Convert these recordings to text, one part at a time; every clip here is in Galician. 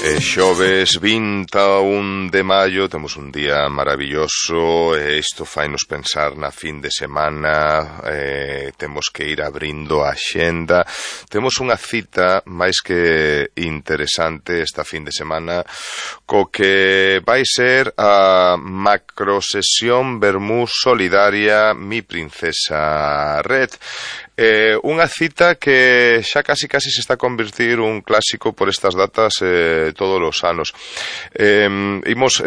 Xoves 21 de maio, temos un día maravilloso e isto fainos pensar na fin de semana, temos que ir abrindo a axenda. Temos unha cita máis que interesante esta fin de semana co que vai ser a macrosesión Vermú Solidaria Mi Princesa Red. Unha cita que xa casi se está a convertir un clásico por estas datas todos os anos. Imos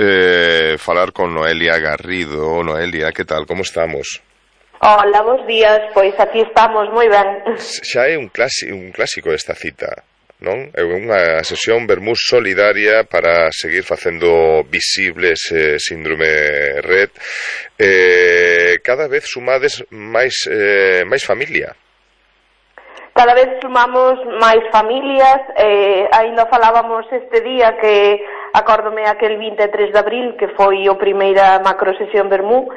falar con Noelia Garrido. Noelia, que tal? Como estamos? Hola, bons días. Pois aquí estamos moi ben. Xa é un clásico esta cita, non? É unha sesión Vermú Solidaria para seguir facendo visible ese síndrome Red. Cada vez sumades máis familia. Cada vez sumamos máis familias. Ainda falábamos este día que acórdome aquel 23 de abril que foi o primeira macrosesión Vermú,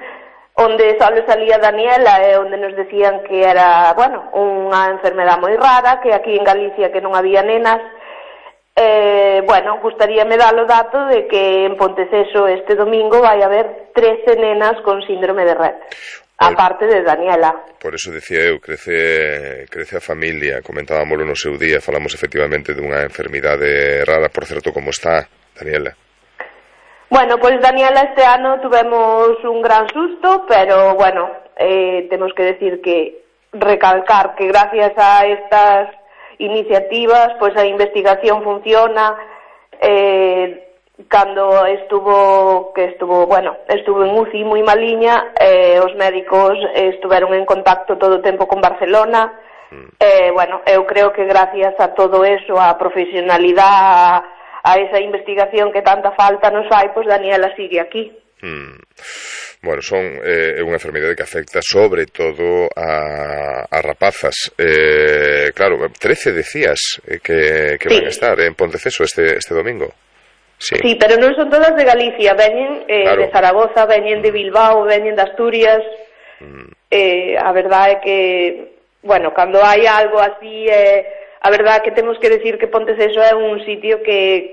onde só salía Daniela e onde nos decían que era, bueno, unha enfermedade moi rara, que aquí en Galicia que non había nenas. Bueno, gustaríame dar o dato de que en Ponteceso este domingo vai haber 13 nenas con síndrome de Red, aparte de Daniela. Por eso decía eu, crece a familia. Comentábamoslo no seu día, falamos efectivamente dunha enfermidade rara. Por certo, como está Daniela? Bueno, pois Daniela este ano tuvemos un gran susto, pero bueno, temos que decir que recalcar que gracias a estas iniciativas, pois a investigación funciona. Cando estuvo en UCI moi maliña, os médicos estuveron en contacto todo o tempo con Barcelona. Bueno, eu creo que gracias a todo eso, a profesionalidade, a esa investigación que tanta falta nos fai, pois Daniela sigue aquí. Bueno, é unha enfermidade que afecta sobre todo a rapazas. Claro, 13 decías que van a estar en Ponteceso este domingo. Sí, pero non son todas de Galicia, veñen claro, de Zaragoza, veñen de Bilbao, veñen de Asturias. A verdade é que, bueno, cando hai algo así, a verdade é que temos que decir que Ponteceso é un sitio que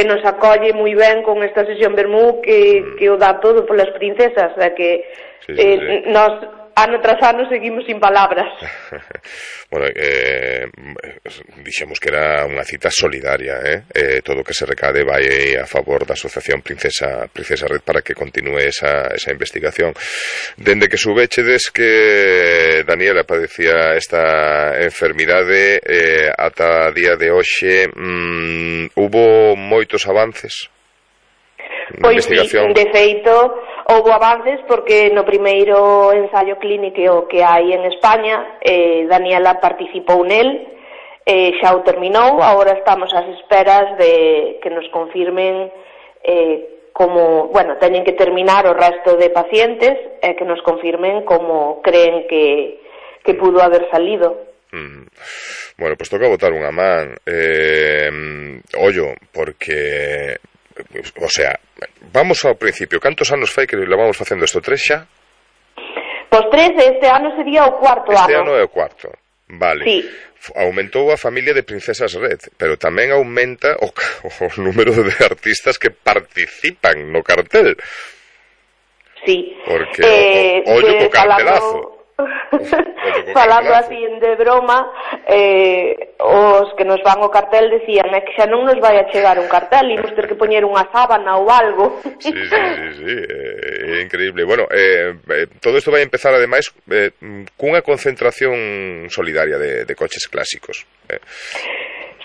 nos acolle moi ben con esta sesión Vermú, que o dá todo polas princesas, que nós ano tras ano seguimos sin palabras. Bueno, dixemos que era unha cita solidaria, todo o que se recade vai a favor da Asociación Princesa Red para que continúe esa investigación. Dende que soubechedes que Daniela padecía esta enfermidade, ata día de hoxe, hubo moitos avances na investigación? Pois, de feito, houve avances porque no primeiro ensaio clínico que hai en España, Daniela participou nel, xa o terminou. Agora estamos ás esperas de que nos confirmen como, bueno, teñen que terminar o resto de pacientes e que nos confirmen como creen que pudo haber salido. Bueno, pois toca botar unha man, ollo, porque, o sea, vamos ao principio. Cantos anos fai que levamos facendo isto? 3 xa? Pois 3, este ano sería o cuarto ano. Este ano é o cuarto, vale. Sí. Aumentou a familia de Princesas Red, pero tamén aumenta o número de artistas que participan no cartel. Sí. Porque ollo co cartelazo. Falando así de broma, os que nos van o cartel decían que xa non nos vai a chegar un cartel, imos ter que poñer unha sábana ou algo. Sí, é increíble. Bueno, todo isto vai empezar ademais cunha concentración solidaria de coches clásicos.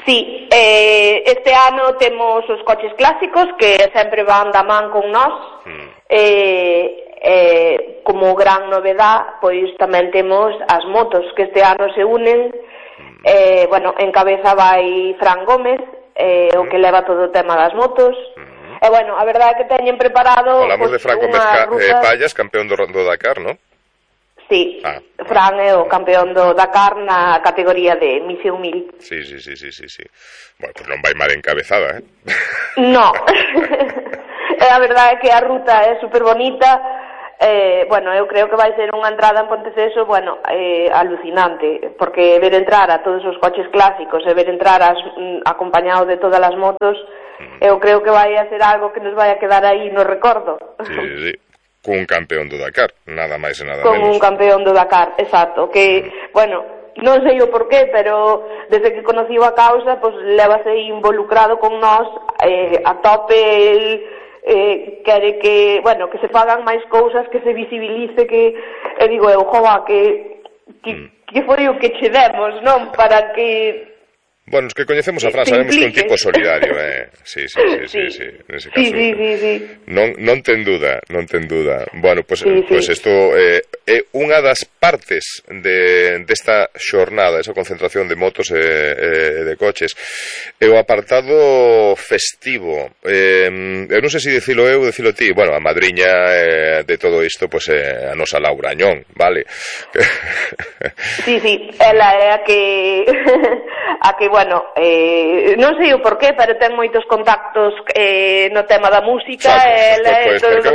Sí, este ano temos os coches clásicos que sempre van da man con nós. Como gran novedad, pois tamén temos as motos que este ano se unen. Bueno, en cabeza vai Fran Gómez, o que leva todo o tema das motos. E bueno, a verdade é que teñen preparado... Falamos de Fran Gómez Pallas, campeón do Dakar, non? Sí, Fran é o campeón do Dakar na categoría de misión 1000. Sí. Bueno, pois non vai mal encabezada, No. A verdade é que a ruta é super bonita. Bueno, eu creo que vai ser unha entrada en Ponteceso, bueno, alucinante, porque ver entrar a todos os coches clásicos e ver entrar acompañado de todas as motos, eu creo que vai a ser algo que nos vai a quedar aí no recordo. Sí. Cun campeón do Dakar, nada máis e nada menos. Con un campeón do Dakar, exacto, que, bueno, non sei o porqué, pero desde que conocí a causa, pues lévase involucrado con nós a tope, quere que, bueno, que se fagan máis cousas, que se visibilice, que, digo eu, joa, que foi o que che demos, non? Para que... Bueno, os que coñecemos a Fran sabemos que é un tipo solidario, Sí, nese caso. Sí. Non ten dúda. Bueno, pues isto é unha das partes desta xornada, esa concentración de motos e de coches. É o apartado festivo. Eu non sei se dicilo eu ou dicilo ti. Bueno, a madriña de todo isto, pues a nosa Laura Añón, vale? Sí, ela é a que bueno, non sei o porqué, pero ten moitos contactos no tema da música. Pois porque é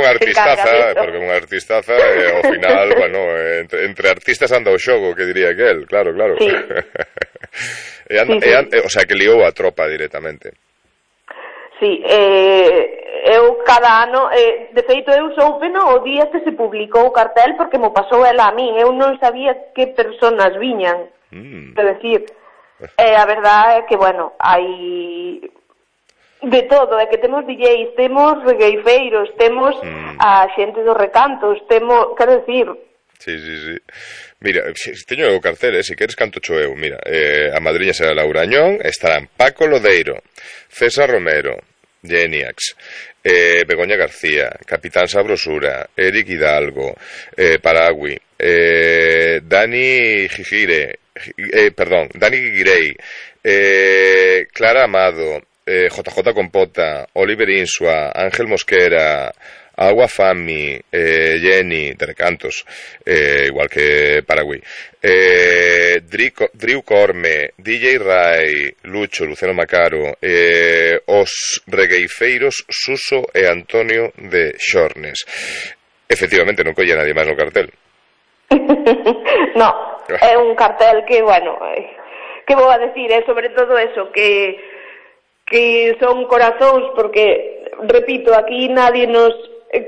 unha artistaza, ao final, bueno, entre artistas anda o xogo, que diría aquel, claro. Sí. O sea, que liou a tropa directamente. Sí, eu cada ano, de feito eu soupeno o día que se publicou o cartel, porque mo pasou ela a min, eu non sabía que personas viñan, é dicir... a verdade é que, bueno, hai de todo, é que temos DJs, temos regueifeiros, temos a xente dos recantos, temos, quero dicir... Sí. Mira, teño o cartel, se queres canto cho eu, mira, a madriña será Laura Añón, estarán Paco Lodeiro, César Romero, Geniax, Begoña García, Capitán Sabrosura, Eric Hidalgo, Paragui, Dani Guirey, Clara Amado, JJ Compota, Oliver Insua, Ángel Mosquera, Agua Fami, Jenny, de Recantos, igual que Paragüí, Driu Corme, DJ Rai, Lucho, Luciano Macaro, os regueifeiros Suso e Antonio de Xornes. Efectivamente, non colle nadie máis no cartel. No, é un cartel que, bueno, que vou a decir, é sobre todo eso, que son corazóns, porque, repito, aquí nadie nos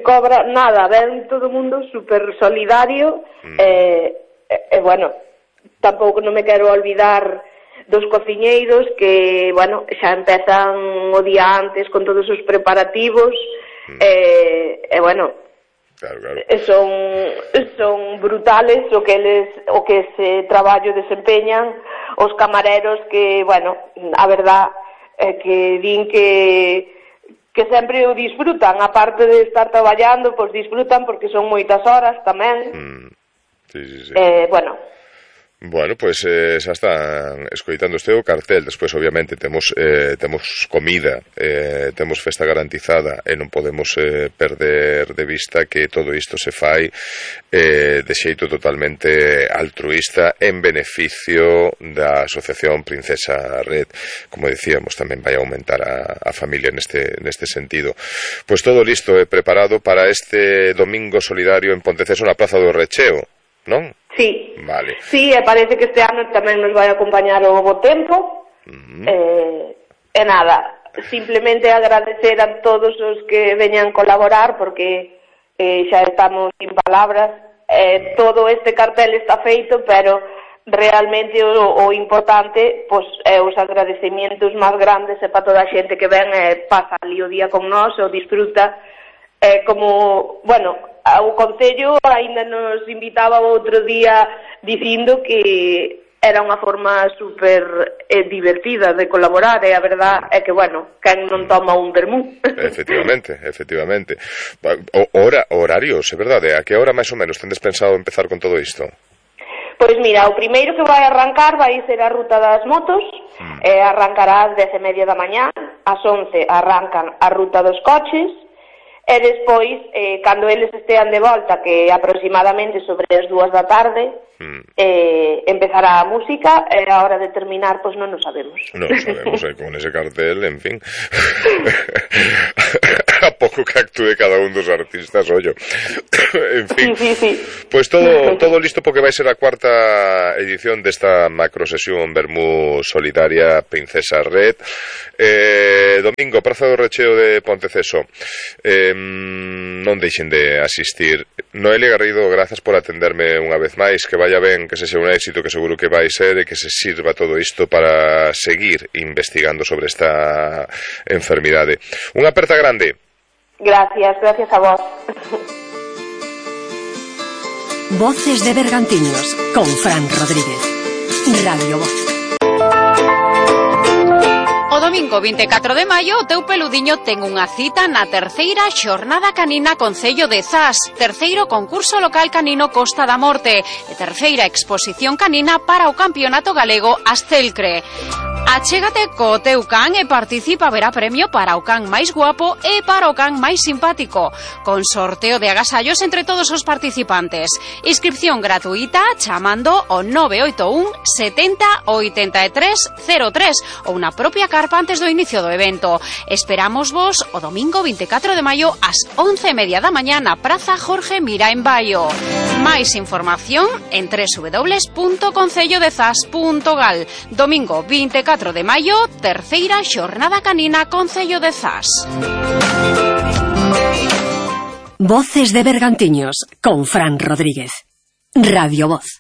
cobra nada, ven todo o mundo super solidario, bueno, tampouco non me quero olvidar dos cociñeiros que, bueno, xa empezan o día antes con todos os preparativos, bueno, claro. Son brutales o que ese traballo desempeñan os camareros que, bueno, a verdad é que din que sempre o disfrutan, aparte de estar traballando, pois disfrutan porque son moitas horas tamén. Sí. Bueno, pois xa están escoitando este o cartel. Despois, obviamente, temos comida, temos festa garantizada e non podemos perder de vista que todo isto se fai de xeito totalmente altruista en beneficio da Asociación Princesa Red. Como dicíamos, tamén vai aumentar a familia neste sentido. Pois todo listo e preparado para este domingo solidario en Ponteceso na Praza do Recheo, non? Sí, vale. Sí, parece que este ano tamén nos vai acompañar o bo tempo. E nada, simplemente agradecer a todos os que veñan colaborar, porque xa estamos sin palabras. Todo este cartel está feito, pero realmente o importante, pois, é os agradecimientos máis grandes para toda a xente que ven e pasa ali o día con nós, o disfruta, como, bueno, o Concello ainda nos invitaba outro día dicindo que era unha forma super divertida de colaborar, e a verdad é que, bueno, quen non toma un vermú. Efectivamente. Horarios, é verdade? A que hora máis ou menos tendes pensado empezar con todo isto? Pois mira, o primeiro que vai arrancar vai ser a ruta das motos, arrancará ás 10:30 da mañá, ás 11 arrancan a ruta dos coches, e despois, cando eles estean de volta, que aproximadamente sobre as 2 da tarde, empezará a música, e a hora de terminar, pois non o sabemos. Non sabemos, con ese cartel, en fin. a pouco que actúe cada un dos artistas, ollo. En fin, sí. Pois todo listo porque vai ser a cuarta edición desta macrosesión Vermú solidaria Princesa Red. Domingo, Praza do Recheo de Ponteceso. Non deixen de asistir. Noelia Garrido, grazas por atenderme unha vez máis, que vaya ben, que sexa un éxito, que seguro que vai ser, e que se sirva todo isto para seguir investigando sobre esta enfermidade. Unha aperta grande. Gracias a vos. Voces de Bergantiños con Fran Rodríguez. Radio Voz. O domingo 24 de maio o teu peludiño ten unha cita na terceira xornada canina Concello de Zas, terceiro concurso local canino Costa da Morte e terceira exposición canina para o Campeonato Galego Astelcre. Achégate co teu can e participa, verá premio para o can máis guapo e para o can máis simpático, con sorteo de agasallos entre todos os participantes. Inscripción gratuita chamando ao 981 70 83 03 ou na propia carpa antes do inicio do evento. Esperamos vos o domingo 24 de maio ás 11:30 da mañá na Praza Jorge Mira en Baio. Máis información en www.concellodezas.gal. Domingo 24 de maio, terceira xornada canina Concello de Zas. Voces de Bergantiños con Fran Rodríguez. Radio Voz.